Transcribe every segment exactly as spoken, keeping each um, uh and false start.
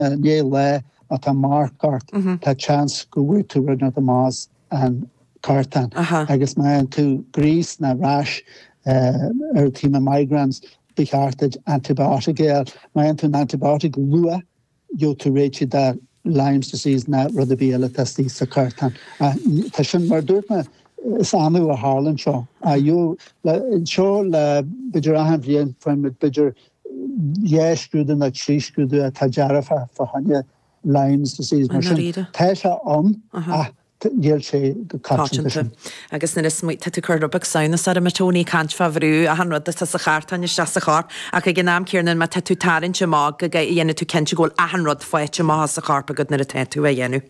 ndiaidh lae má tá marc ort, tá chance go bhfuair tú rud inteacht amach as an cartán. Agus má fhaigheann tú gríos ná rash erythema migrans, ba cheart duit antibiotic a fháil. Má fhaigheann tú an antibiotic luath, gheobhaidh tú réitithe de Lyme's disease ná rud ar bith eile atá istigh sa chartán. Tá sin, mar a dúirt mé, is annamh a tharlann seo. Seo le b'fhéidir achan bhliain faigheann muid b'fhéidir dhá scrúdú nó trí scrúdú atá dearfach fá choinne Lyme's disease. Mar sin, tá sé ann ach níl sé go coitianta sin. Agus nuair is tá tú ag cur rud beag samhnas orm, a Tony, caint fá bhrú achan rud atá sa chartán isteach sa chorp ach ag an am céanna má tá tú tarraingt amach go dhéanfaidh tú cinnte go bhfuil achan rud faighte amach as an chorp agat nuair atá tú á dhéanamh.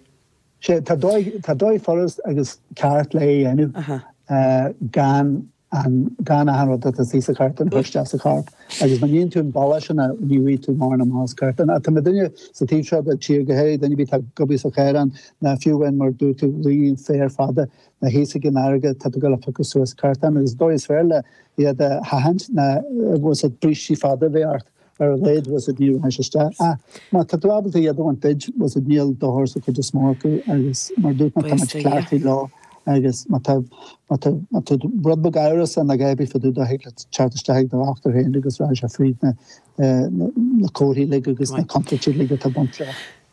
Sea, tá dóigh, tá dóigh furast agus ceart le é a dhéanamh gan an, gan achan rud atá istigh sa chartán a chur isteach sa chorp. Agus má níonn tú an bealach sin ní bhfaighidh tú mórán amach as cartán. Ach tá mé duine sa taobh seo de tír, go háirithe duine ar bith atá ag obair sa chaorán, ná fiú amháin mar dúirt tú, luí an féar fada, ná thíos ag an fharraige, tá tú ag dul a phiocadh suas cartán agus an dóigh is fearr le iad a sheachaint ná bhfuil siad brístí fada a bheith ort. Ar a laghad, bhfuil siad, ní rachaidh sé isteach. Ach má tá tú ábalta iad a bhaint duit, bhfuil siad, níl dochar sa chuid is mó acu agus mar a dúirt mé, tá muid cleachtaithe leo agus má tá, má tá, má tá rud beag amhrasach nó a dhath ar bith fá dtaobh de, thig leat teacht isteach ag do dhochtúir féin agus rachaidh sé fríd na, na, na comharthaí uilig agus na contúirtí uilig atá ag baint leo.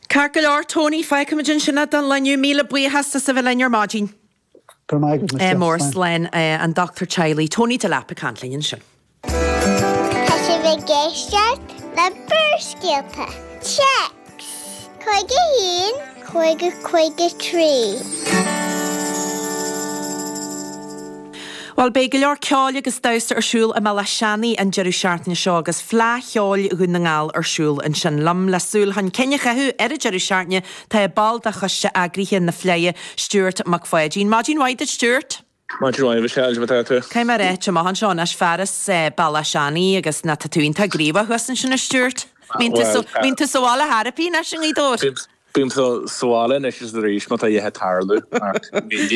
Ceart go leor, Tony, fágfaimid ansin é don lá inniu. Míle buíochas as a bheith linn ar maidin. Go raibh maith agat, Michelle. Mór slán an dochtúir teaghlaigh, Tony Delap ag caint linn ansin. Tá sibh ag éisteacht le Barrscéalta. Téacs cúig a haon, cúig a cúig a trí. Bhuel, beidh go leor ceoil agus damhsa ar siúl i mBealach Seanaidh an deireadh seachtaine seo agus Fleadh Cheoil Dhún na nGall ar siúl ansin. Liom le súil chun cinn a chaitheamh ar an deireadh seachtaine tá ball de choiste eagraithe na Fleidhe, Stuart Mac Pháidín. Maidin mhaith duit, Stuart. Maidin mhaith, a Mhichelle, cad é mar atá tú? Caithfidh mé a ráit, amach anseo anois, fearas Bealach Seanaidh agus ná tá tú iontach gníomhach thuas ansin, a Stuart. Mbíonn tú sa, mbíonn tú sa bhaile thar a bith anois i nGaoth Dobhair? Bím sa bhaile anois is arís má tá a dhath ag tarlú ach